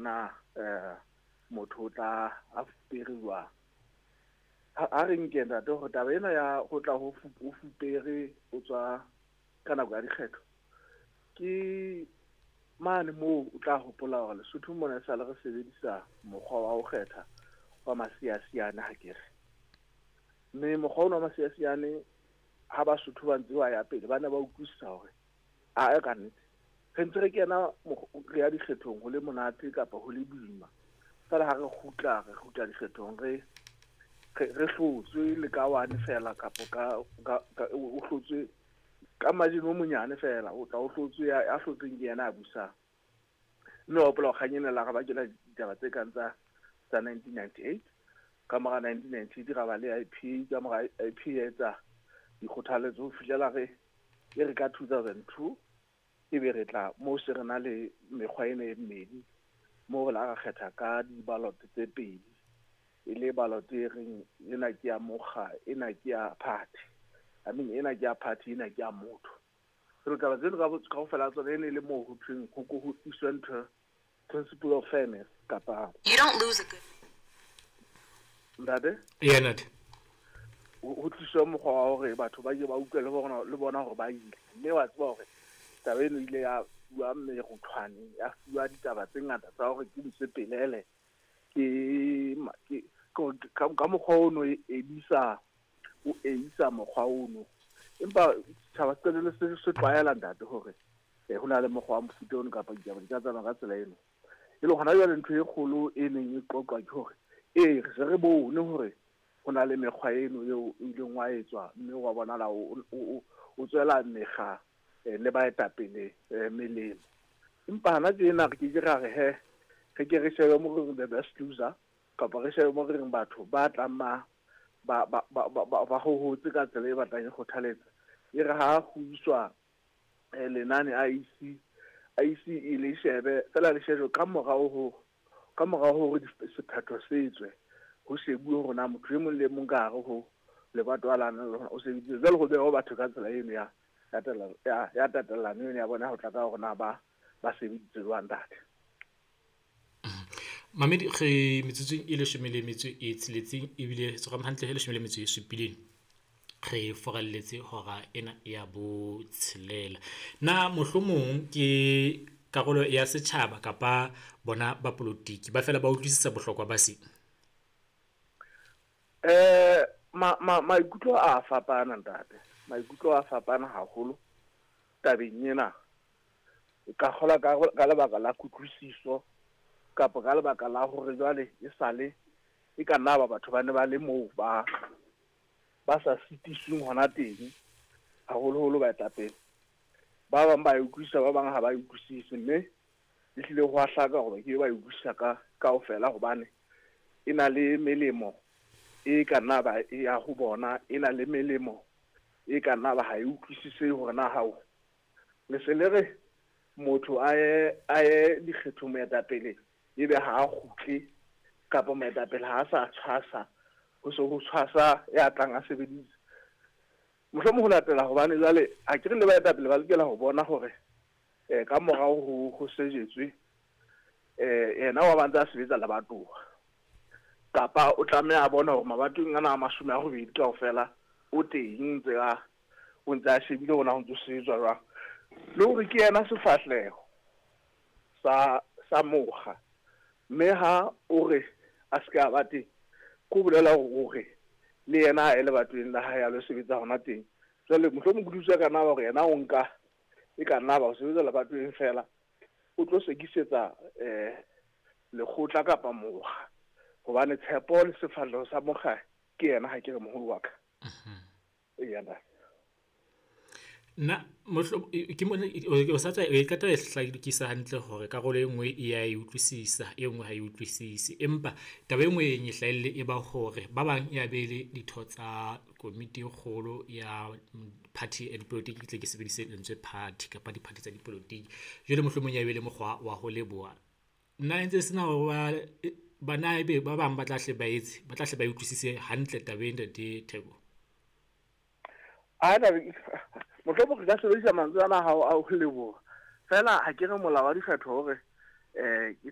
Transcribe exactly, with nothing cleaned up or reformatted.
na eh motho o tla a fupere jwang. Ha re nke ntate hore taba ena ya ho tla ho fupere o tswa ka nako ya dikgetho ke mane moo o tla hopola hore Lesotho mona e sale re sebedisa mokgwa wa ho kgetha wa masiasiane ha ke re. Mme mokgwa ona wa masiasiane ha Basotho ba ntse ba ya pele ba ne ba utlwisisa hore a ka nnete re ntse re kena re ya dikgethong ho le monate kapa ho le boima, fela ha re kgutla re kgutla dikgethong re re hlotswe le ka one fela kapa ka o hlotswe ka margin o monyane fela o tla o hlotswe ya hlotsweng ke yena a busang. Mme wa hopola kgang ena la re bakela ditaba tse kang tsa tsa nineteen ninety-eight, ka mora nineteen ninety-eight ra ba le I P A, ka mora I P A etsa dikgothaletso ho fihlela re e re ka two thousand two ebe re tla moo se re na le mekgwa ena e mmedi moo re la ra kgetha ka di-ballot tse pedi, e le ballot e reng ena ke ya mokga, ena ke ya party, I mean ena ke ya party, ena ke ya motho. Jwale taba tseno kaofela tsona e ne le moo ho thweng ho ko ho iswe ntho principle of fairness kapa You don't lose a good ntate Yeah, ntate. Ho tliswa mokgwa wa hore batho ba ke ba utlwe le bona le bona hore ba ile, mme wa tseba hore taba eno ile ya fuwa meruthwane, ya fuwa ditaba tse ngata tsa hore ke mosepelele ke ke ka mokgwa ono e edisa o eisa mokgwa ono, empa setjhaba se qetelle se se tlwaela ntate hore ho na le mokgwa wa mofuta ono kapa ditaba di ka tsamaya ka tsela eno. E le hona jwale ntho e kgolo e neng e qoqwa ke hore ee re se re bone hore ho na le mekgwa eno eo o ileng wa etswa mme wa bonahala o tswela mekga le baetapele melemo, empa hana tjena re ke ke ra re he re ke re shebe mo re the best loser kapa re shebe mo re reng batho ba tlang ma ba ba ba ba hohotse ka tsela e batlang e kgothaletsa, e re ha ho iswa lenane I E C I E C e le shebe fela le shebe ka morao ho ka morao hore sephetho se tswe ho shebuwe hore na motho e mong le mong ka hare ho lebato la lona o sebeditse jwale ho beho batho ka tsela eno ya ya ya tatellano eno ya bona ho tla ka hore na ba ba sebeditse jwang ntate. Mamedi re metsotsong e leshome le metso e tsheletseng ebile tshwarang hantle e leshome le metso e supileng re foralletse hora ena ya botshelela. Na mohlomong ke karolo ya setjhaba kapa bona ba polotiki ba fela ba utlwisisa bohlokwa ba se? Eh ma ma maikutlo a fapana ntate, maikutlo a fapana haholo tabeng ena. Ka kgola ka ka lebaka la kutlwisiso kapa ka lebaka la hore jwale e sale e ka nna ba batho ba ne ba le moo ba ba sa sitisweng hona teng haholoholo baetapele. Ba bang ba e utlwisisa, ba bang ha ba e utlwisise, mme ehlile ho a hlaka hore ke ba e utlwisisa ka kaofela hobane e na le melemo e ka nna ba e ya ho bona, e na le melemo e ka nna ba ha e utlwisise hore na hao le se le re motho a ye a ye dikgethong moetapele ebe ha a kgutle kapa moetapele ha a sa tshwasa ho se ho tshwasa ya tlang a sebedisa. Mohlomong ho latela hobane jwale ha ke re le baetapele ba lokela ho bona hore eh ka morao ho ho sejetswe eh yena wa ba ntse a sebetsa lebatowa kapa o tlameha a bona hore mabatong ana a mashome a robedi kaofela o teng ntse a o ntse a shebile hore na ho ntso sebetswa jwang, le hore ke yena sefahleho sa sa mokga, mme ha o re a se ka ba teng ko bolela hore le yena a ye lebatoweng la hae a lo sebetsa hona teng. Jwale mohlomong kutlwisiso ya ka nna ba hore yena o nka e ka nna ba ho sebetsa lebatoweng fela o tlo sekisetsa eh lekgotla kapa mokga, hobane tshepo le sefahleho sa mokga ke yena ha ke re moholo wa ka. Eya ntate. Nna mohlo ke mona o sa tswa e qeta e hlakisa hantle hore karolo e nngwe e ya e utlwisisa, e nngwe ha e utlwisise. Empa taba e nngwe e hlahelle e ba hore ba bang ya be le ditho tsa komiti e kgolo ya party ya dipolotiki, ke tle ke sebedise lentswe party kapa di-party tsa dipolotiki. Jwale mohlomong ya be le mokgwa wa ho leboha. Nna ntse sena hore ba bana ebe ba bang ba tla hle ba etse, ba tla hle ba utlwisise hantle taba e ntate Theko. A na mohlomong re ka sebedisa mantswe ana a hao a ho leboha fela ha ke re molao wa dikgetho hore eh ke tla